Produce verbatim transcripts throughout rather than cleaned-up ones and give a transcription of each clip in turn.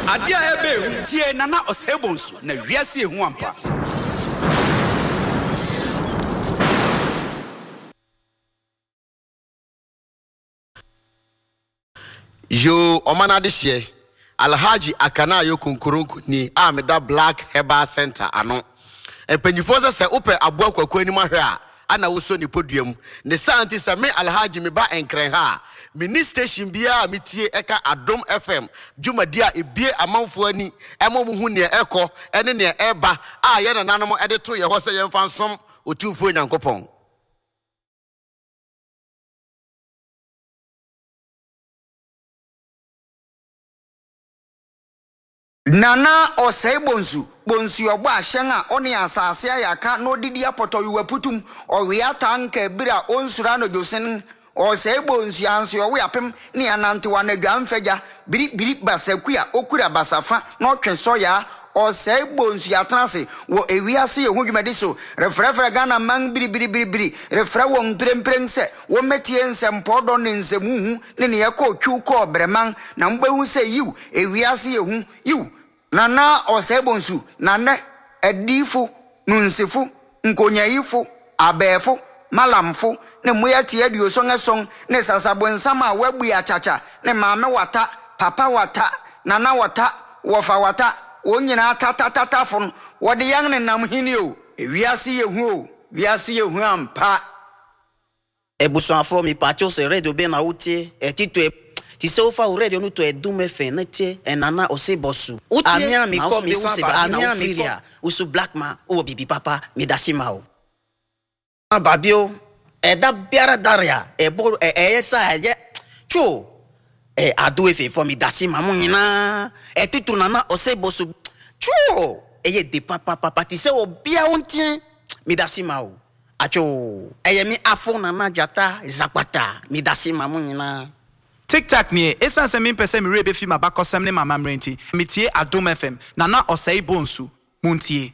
Adeɛ a ɛbɛ ehu tie Nana Osei Bonsu na wiase ehu ampa. Yoo, ɔman adehyeɛ, Alhaji Akanayo Konkoronko nie a meda Black Herbal Centre ano. Mpanyinfoɔ sɛ sɛ wopɛ aboa kwaku anim ahwɛ a, ana wosɔ ne podua mu. Ne saa nti sɛ me Alhaji meba Nkran ha a, menni station biara a metie ɛka Adom F M dwumadie a ebue amanfoɔ ani ɛma wɔn hu nea ɛkɔ ɛne nea ɛba a yɛn nananom ɛde to yɛ hɔ sɛ yɛmfa nsom Otumfoɔ Nyankopɔn. Nana Osei Bonsu, Bonsu ɔbɔ ahyɛn a ɔne asase ayɛ aka na odidi apɔtɔwewa putum, ɔwea tanka bere a onsuro anadwo Osei Bonsu anso ɔwe apem ne anantewa anadwa mfagya, biribiri basaku a okura basafa na ɔtwe sɔya. Osei Bonsu atena ase wɔ ewiase ehu dwumadi so, refrɛfrɛ Ghana man biribiribiribiri, refrɛ wɔn mprempren sɛ wɔmmɛtie nsɛmpɔdɔ ne nsɛmuhu ne nea ɛkɔɔ twiw kɔɔ brɛman, na mobɛhu sɛ yiw, ewiase ehu, yiw. Nana Osei Bonsu, nane adiyifo, nunsifo, nkonyayifo, abɛɛfo, malamfo, ne mmoa tie aduoson ason, ne sasabonsam a wɔabue akyakya, ne maame wata, papa wata, nana wata, wɔfa wata, wɔn nyinaa tatatatafo no, wɔde yɛn nenam hene o. Ewiase yɛ hu o, wiase yɛ hu ampa. Ebusuafo mi patio se radio be na wotie, etito e ti se wofa wo radio no to Adom F M na tie Nana Osei Bonsu. Amia mi kɔ mi san ba na ofiri a, usu black man wo bibi papa mi dasi ma o. Babio e da biara daria e bo e e sa e cho e Adom F M fo mi dasi ma mo nyina e tutu Nana Osei Bonsu cho e ye de papa papa ti se obia wontie mi dasi ma o. Acho e ye mi afo Nana Jata Zapata mi dasi ma mo nyina. Tic Tac nie, esan se mi mpese mi rebe fi mabakosem ne mama mrenti. Mitie Adom F M, Nana Osei Bonsu, muntie.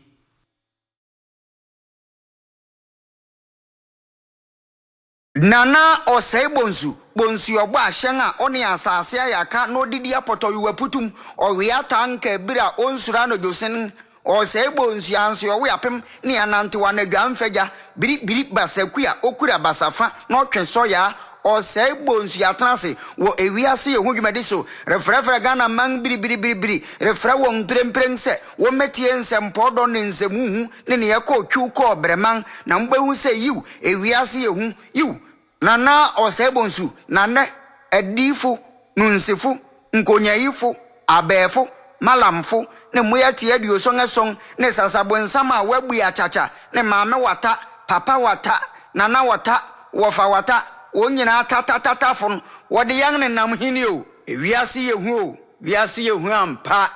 Nana Osei Bonsu, Bonsu ɔbɔ ahyɛn a ɔne asase ayɛ aka na odidi apɔtɔwewa putum, ɔwea tanka bere a onsuro anadwo sen. Osei Bonsu anso ɔwe apem ne anantewa anadwa mfagya, biribiri basaku a okura basafa na ɔtwe sɔya. Osei Bonsu atena ase wɔ ewiase ehu dwumadi so, refrɛfrɛ Ghana man biribiribiribiri, refrɛ wɔn mprempren sɛ wɔmmɛtie nsɛmpɔdɔ ne nsɛmuhu ne nea ɛkɔɔ twiw kɔɔ brɛman, na mobɛhu sɛ yiw, ewiase ehu, yiw. Nana Osei Bonsu, nane adiyifo, nunsifo, nkonyayifo, abɛɛfo, malamfo, ne mmoa tie aduoson ason, ne sasabonsam a wɔabue akyakya, ne maame wata, papa wata, nana wata, wɔfa wata, wɔn nyinaa tatatatafo no, wɔde yɛn nenam hene o. Ewiase yɛ hu o, wiase yɛ hu ampa.